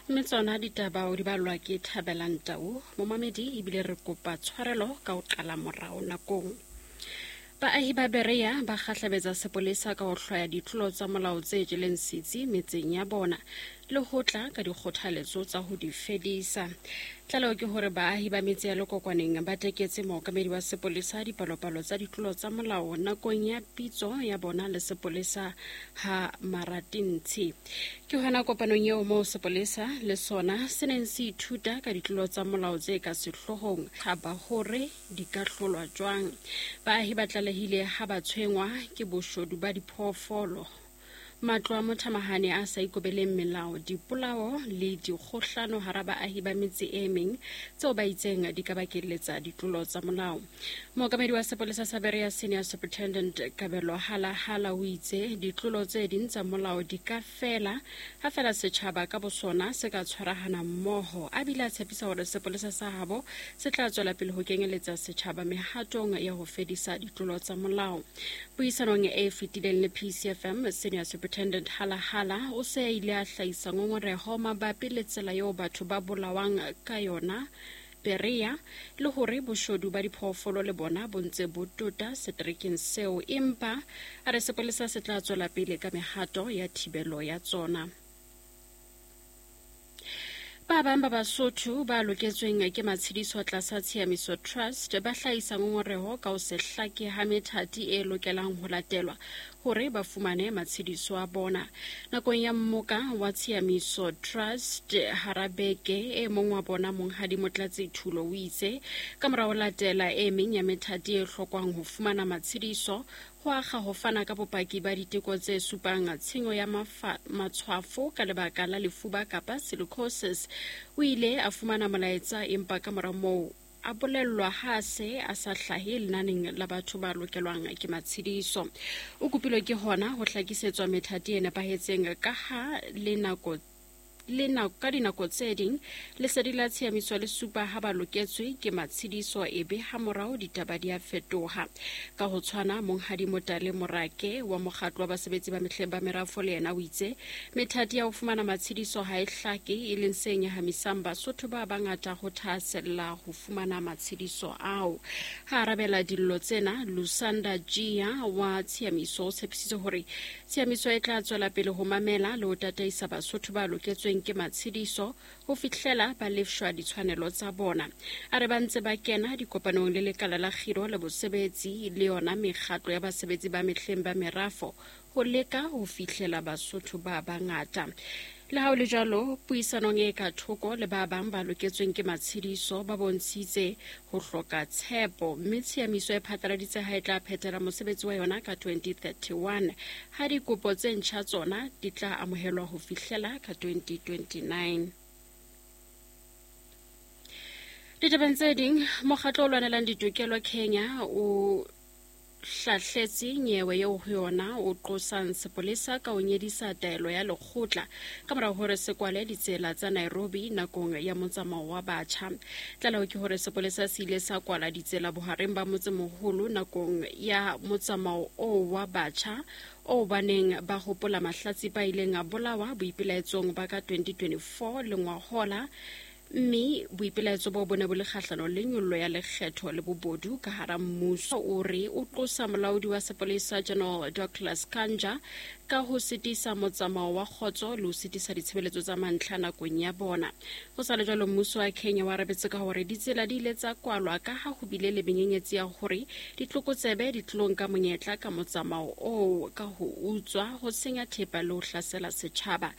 Mme tsona ditaba o di balwa ke Thabelang Tau, momamedi, ebile re kopa tshwarelo ka ho qala morao nakong. Baahi ba Berea ba kgahlabetsa sepolesa ka ho hlwaya ditlolo tsa molao tse jeleng setsi metseng ya bona le ho tla ka dikgothaletso tsa ho di fedisa. Tlaleho ke hore baahi ba metse ya Lekokwaneng ba teketse mookamedi wa sepolesa dipalopalo tsa ditlolo tsa molao nakong ya pitso ya bona le sepolesa ha Maratintshi. Ke hona kopanong eo moo sepolesa le sona se neng se ithuta ka ditlolo tsa molao tse ka sehloohong ha ba hore di ka hlolwa jwang. Baahi ba tlalehile ha ba tshwengwa ke boshodu ba diphoofolo, matlo a mothamahane a sa ikobeleng melao, dipolao le dikgohlano hara baahi ba metse e meng tseo ba itseng di ka bakelletsa ditlolo tsa molao. Mookamedi wa sepolesa sa Berea Senior Superintendent Kabelo Halahala o itse ditlolo tse ding tsa molao di ka fela ha fela setjhaba ka bosona se ka tshwarahana mmoho, a bile a tshepisa hore sepolesa sa habo se tla tswela pele ho kenyeletsa setjhaba mehatong ya ho fedisa ditlolo tsa molao. Puisanong e fetileng le PCFM, Senior Superintendent Halahala o se a ile a hlahisa ngongoreho mabapi le tsela eo batho ba bolawang ka yona Berea le hore boshodu ba diphoofolo le bona bo ntse bo tota seterekeng seo, empa a re sepolesa se tla tswela pele ka mehato ya thibelo ya tsona. Ba bang ba Basotho ba loketsweng ke matshediso tlasa Tshiamiso Trust ba hlahisa ngongoreho ka ho se hlake ha methati e lokelang ho latelwa hore ba fumane matshediso a bona. Nakong ya mmoka wa Tshiamiso Trust hara beke, e mong wa bona Monghadi Motlatsi Thulo o itse ka mora ho latela e meng ya methati e hlokwang ho fumana matshediso, ho akga ho fana ka bopaki ba diteko tse supang tshenyo ya matshwafo ka lebaka la lefuba kapa silicosis. O ile a fumana molaetsa empa ka mora moo a bolellwa ha a se a sa hlahe lenaneng la batho ba lokelwang ke matshediso. O kopilwe ke hona ho hlakisetswa methati e nepahetseng ka ha le nako le nako ka dinako tse ding lesedi la tshiamiso le supa ha ba loketswe ke matshediso ebe ha morao ditaba di a fetoha. Ka ho tshwana, Monghadi Motale Morake wa mokgatlo wa basebetsi ba mehleng ba merafo le yena o itse methati ya ho fumana matshediso ha e hlake, e leng se nyahamisang Basotho ba bangata ho thahasella ho fumana matshediso ao. Ha arabela dillo tsena, Lusanda Jia wa Tshiamiso o tshepisitse hore Tshiamiso e tla tswela pele ho mamela le ho tataisa Basotho ba loketsweng ke matshediso ho fihlela ba lefshwa ditshwanelo tsa bona. A re ba ntse ba kena dikopanong le lekala la kgiro le bosebetsi le yona mekgatlo ya basebetsi ba mehleng ba merafo ho leka ho fihlela Basotho ba bangata. Le ha ho le jwalo, puisanong e ka thoko le ba bang ba loketsweng ke matshediso ba bontshitse ho hloka tshepo, mme tshiamiso e phatlaladitse ha e tla phethela mosebetsi wa yona ka 2031, ha dikopo tse ntjha tsona di tla amohelwa ho fihlela ka 2029. Ditabeng tse ding, mokgatlo o lwanelang ditokelo Kenya o hlahletse nyewe eo ho yona o qosang sepolesa ka ho nyedisa taelo ya lekgotla ka morago hore se kwale ditsela tsa Nairobi nakong ya motsamao wa batjha. Tlaleho ke hore sepolesa se ile sa kwala ditsela bohareng ba motsemoholo nakong ya motsamao oo wa batjha oo ba neng ba hopola mahlatsipa a ileng a bolawa boipelaetsong ba ka 2024 le ngwahola, mme boipelaetso boo bo ne bo le kgahlano le nyollo ya lekgetho le bobodu ka hara mmuso. O re o qosa molaodi wa sepolesa General Douglas Kanja ka ho sitisa motsamao wa kgotso le ho sitisa ditshebeletso tsa mantlha nakong ya bona. Ho sa le jwalo, mmuso wa Kenya o arabetse ka hore ditsela di ile tsa kwalwa ka ha ho bile le menyenyetsi ya hore ditlokotsebe di tlo nka monyetla ka motsamao oo ka ho utswa, ho senya thepa le ho hlasela setjhaba.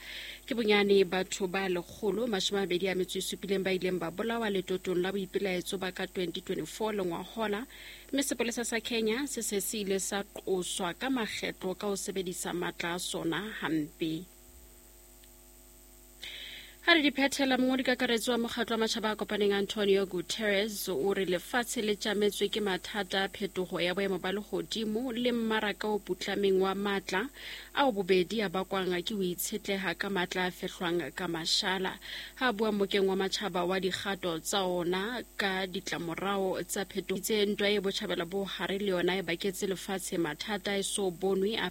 Ke bonyane batho ba 127 ba ileng ba bolawa letotong la boipelaetso ba ka 2024 le ngwahola, mme sepolesa sa Kenya se se se ile sa qoswa ka makgetlo ka ho sebedisa matla a sona hampe. Ha re di phethela, mongodi kakaretso wa mokgatlo wa matjhaba a kopaneng Antonio Guterres o re lefatshe le tjametswe ke mathata a phetoho ya boemo ba lehodimo le mmaraka o putlameng wa matla ao bobedi a bakwang ke ho itshetleha ka matla a fehlwang ka mashala. Ha a bua mokeng wa matjhaba wa dikgato tsa ona ka ditlamorao tsa phetoho, itse ntwa e botjhabela bo hare le yona e baketse lefatshe mathata e so bonwe a.